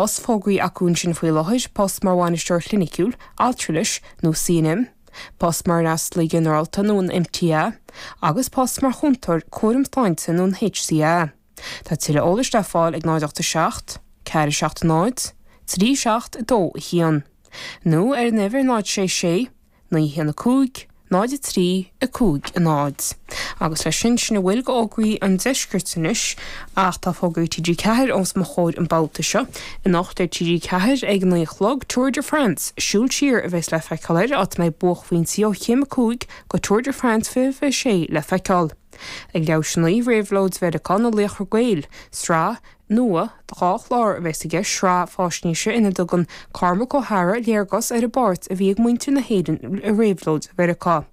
Post fógraithe acu ansin faoi láthair, post mar bhainisteoir cliniciúil, altranais nó CNM, post mar fhreastalaí ginearálta nó an MTA, agus post mar chúntóir cúraim sláinte nó an HCA. Tá tuilleadh eolais le fáil ag 0 8 7 4 7 0 3 7 2 1 nó ar an uimhir 0 6 6 9 1 5 0 3 5 0. Agus leis sin, sin a bhfuil de fhógraí an deiscirt anois, ach tá fógraí TG4 os mo chomhair an babhta seo. Anocht ar TG4 ag a 9 a chlog, Tour de France, Siúl Siar a bheas le feiceáil air, áit a mbeidh buaicphointí ó chéim 5 go Tour de France 2026 le feiceáil. Ag leathuair tar éis a 9, Réabhlóid Mheiriceá, na Laochra Gael, sraith nua de dhá chlár a bheas i gceist, sraith faisnéise ina dtugann Cormac Ó hEadhra léargas ar an bpáirt a bhí ag muintir na hÉireann i réabhlóid Mheiriceá.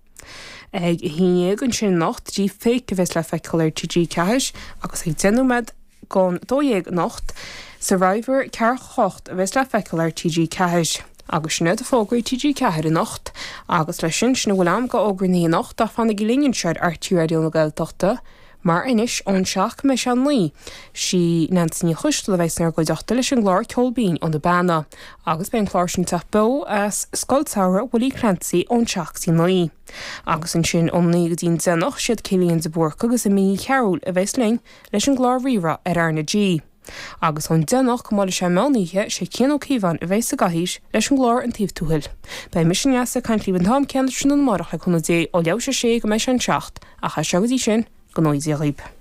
Ag a haon dhéag ansin anocht, Deep Fake a bheas le feiceáil ar TG4 agus ag 10 nóiméad don 12 anocht, Survivor ceathracha 8 a bheas le feiceáil ar TG4. Agus sin iad fógraí TG4 anocht. Agus leis sin, sin a bhfuil agam de fhógraí anocht ach fanaigí linn anseo ar RTÉ Raidió na Gaeltachta mar anois ón seacht go mbeidh sé a naoi, sí Neansaí Ní Choisteala a bheas inár gcuideachta leis an gclár Ceol Binn ó na Beanna. Agus beidh an clár sin ag teacht beo as Scoil Samhraidh Willie Clancy ón seacht go dtí naoi. Agus ansin ón naoi go dtí an deich anocht, siad Cillian de Búrca agus Amy Ní Chearúil a bheas linn leis an gclár Rí-Rá ar R na G. Agus ón 10 anocht go mbuailfidh sé meán oíche, sé Cian Ó Cíobháin a bheas sa gcathaoir leis an gclár An Taobh Tuathail. Beidh mise Neasa ag caint libh an t-am céanna tráthnóna amárach le cúnamh Dé ó leathuair tar éis a sé go mbeidh sé an 7, ach as seo go dtí sin, go ngnóthaí Dia dhaoib.